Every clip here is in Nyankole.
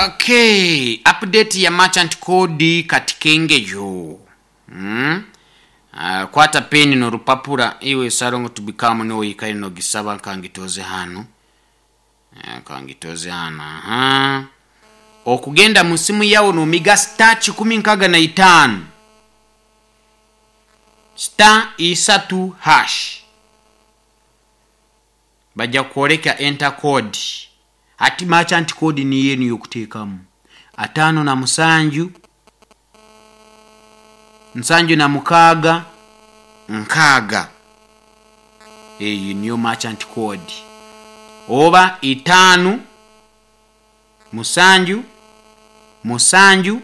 Okay, update ya merchant code kati kengeyo. Kwata peni n'orupapura iwe sarongo tubikamu niwe oikaire nogisaba nkangitoze hanu. Nkangitoze hanu. Aha. Okugenda mu simu yawe nomiga star 165 star isatu hash. Bajja kukwoleka enter code. Hati merchant code niyo enu y'okuteekamu. 57 76 6. Eyo niyo merchant code. Oba 5 7 7 6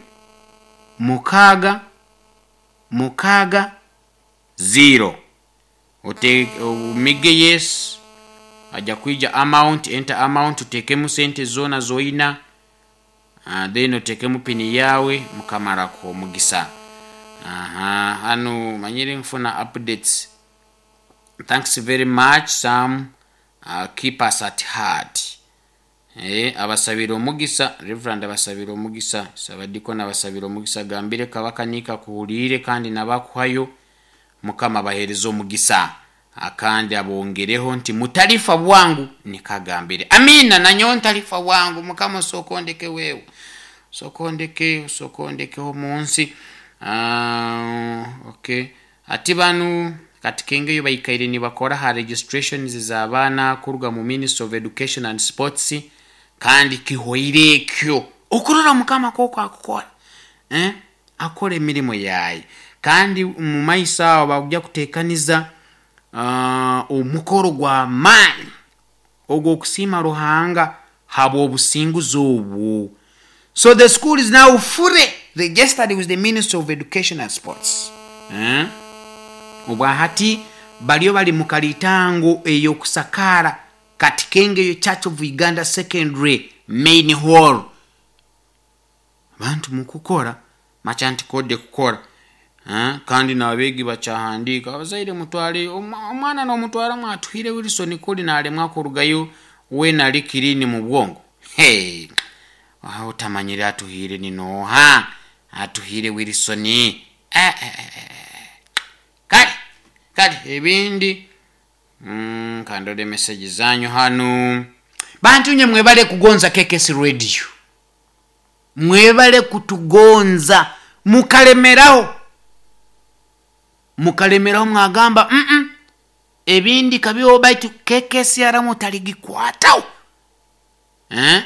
6 0. Omige yes. Aja kwija amount, enter amount, otekemu sente zona zoina, then otekemu pini yawe, Mukama arakuha omugisa. Aha, hanu manyire nfuna updates. Thanks very much Sam, keep us at heart. Abasabire omugisa, Reverend abasabire omugisa, Sabadikoni abasabire omugisa, agambire Kabaka niika akuhuriire kandi nabakuhayo, Mukama abahereze omugisa. Akandi abongereho nti mutalifa bwangu, nikagambire. Amina, nanyowe ntalifa bwangu, Mukama osooka ondeke wewe. Osooka ondeke, osooka ondekeho omu nsi. Okay. Ati banu kati kengeyo baikaire nibakora ha registrations z'abaana kuruga mu Ministry of Education and Sports, kandi kihoire ekyo. Okurora Mukama koko akukora. Akora emirimo yaye. Kandi mu maiso aho bakuja kutekaniza omukoro gw'amaani ogw'okusiima Ruhanga habw'obusinguzi obwo. So the school is now fully registered with the Ministry of Education and Sports. Obwahati bariyo bari mu karitango ey'okusakaara kati Kengeyo Church of Uganda Secondary Main Hall. Abantu mukukora merchant code kukora. Kandi n'abeegi bakyahandiika abazaire mutware omwana n'omutwara mwatuhire Wilson kuri naremwa kurugayo weena ari clean mu bwongo. Hey, otamanyire atuhire ni nooha? Atuhire Wilson. Kale, kale ebindi kandore message zanyu hanu. Bantu nye mwebale kugonza KKS Radio. Mwebale kutugonza mukalemeraho. Mukalemeraho mwagamba ebindi kabiho baitu KKS yaramu taligikwataho.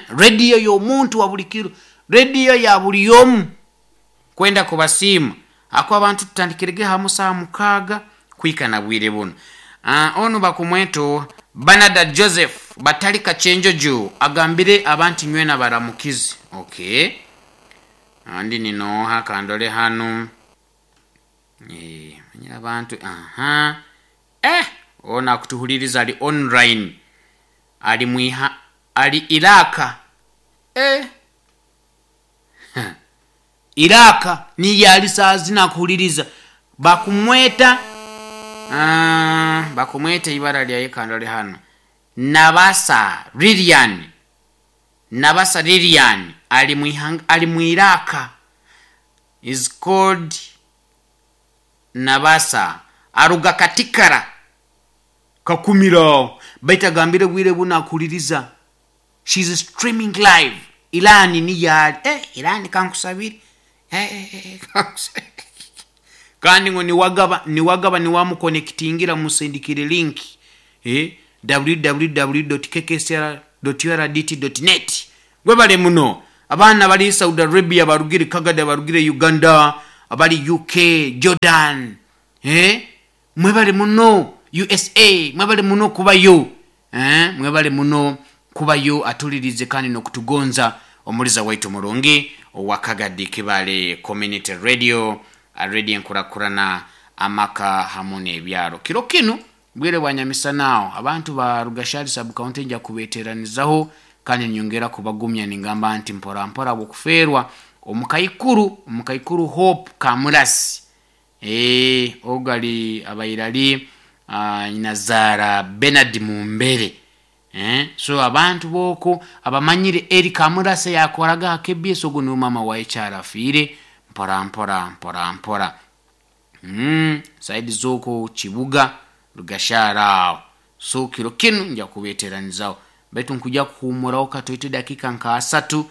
Radio y'omuntu wa buli kiro, radio ya buli omu kwenda kubasiima. Ako abantu tutandikirege hamu saa 6 kwika na bwire buno. Onu bakumweto Banada Joseph batali Kachenjojo agambire abantu nywena baramukizi. Okay. Andi ninoha kandole hanu. Manyira abantu aha. Ona kutuhuliriza ali online. Ali mwiha ali Iraka. Iraka ni yali saa zina kuhuliriza. Bakumweta bakumweta ibara lya kandole hano. Nabasa Lilian. Nabasa Lilian ali mwihanga, ali mwiraka. Is called Nabasa. Aruga katikara. Kakumira. Baita gambire bwire buna kuliriza. She's streaming live. Ilani ni yali. Ilani kankusabiri. Kankusabiri. Kandi ngo niwagaba niwamuconnectingira musindikire link. www.kksr.urdt.net. Gwebale muno. Abaana bali Saudi Arabia, barugire Kagada, barugire Uganda, abali UK, Jordan. Mwebale muno USA, mwebale muno kubayo. Mwebale muno kubayo atulirize kandi nokutugonza omuliza waitu mulungi owa Kagadi Kibale Community Radio, radio enkurakurana amaka hamu n'ebyaro. Kiro kinu bwire bwa nyamisanao abantu ba Rugashari sub county nja kubeteranizaho kandi nyongera kubagumya ningamba nti mpora mpora bwokufeerwa omukaikuru Hope Kamurasi. Ogali abairali Nazara Bernard Mumbere. Eh, so abantu boko abamanyire Eri Kamurase yakoraga ha KBS, ogu niwe mama wa ekyarafiire mpora mpora mpora mpora. Saidi zoko kibuga Rugashara aho. So kiro kinu nja kubeteranizaho, baitu nkuja kuhumuraho katoito dakika nka asatu,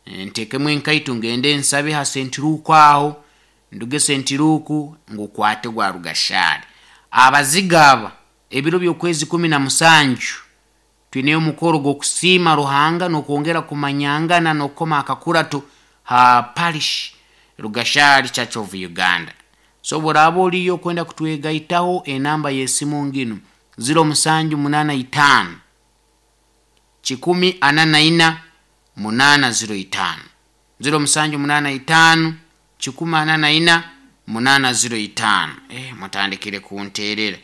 ntekemu enkaito ngende nsabe ha sentiruku aho, nduge sentiruku ngukwate gwa Rugashara. Abaziga aba ebiro by'okwezi 17 twineyo omukoro gw'okusiima Ruhanga n'okwongera kumanyangana n'okukoma akakurato ha parish Rugashari Church of Uganda. So bw'oraaba oliyo okwenda kutwegaitaho, enamba y'esimu nginu 0785 144 805, 0785 144 805. Mutandikire kunterera.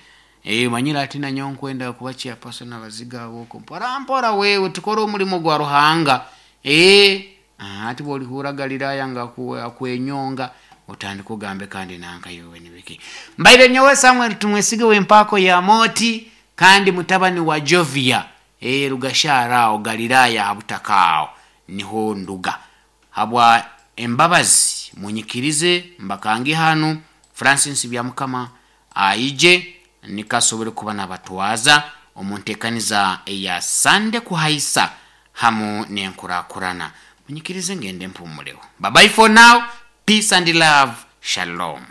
Manyire ati nanyowe nkwenda kuba chairperson abaziga aboko mpora mpora, wewe tukore omulimo gwa Ruhanga. Ati bwolihura Galilaya nga akwenyonga otandika ogambe kandi nanka yowe nibiki. Mbaire nyowe Samuel Tumwesige w'empaako ya Moti kandi mutabani wa Jovia, Rugashara aho Galilaya habutaka aho niho nduga. Habwa embabazi munyikirize mbakange hanu Francis Byamukama aije nikasobole kuba nabatwaza omu ntekaniza eya Sande kuhaisa hamu n'enkurakurana. Munyikirize ngende mpumuleho. Bye bye for now. Peace and love. Shalom.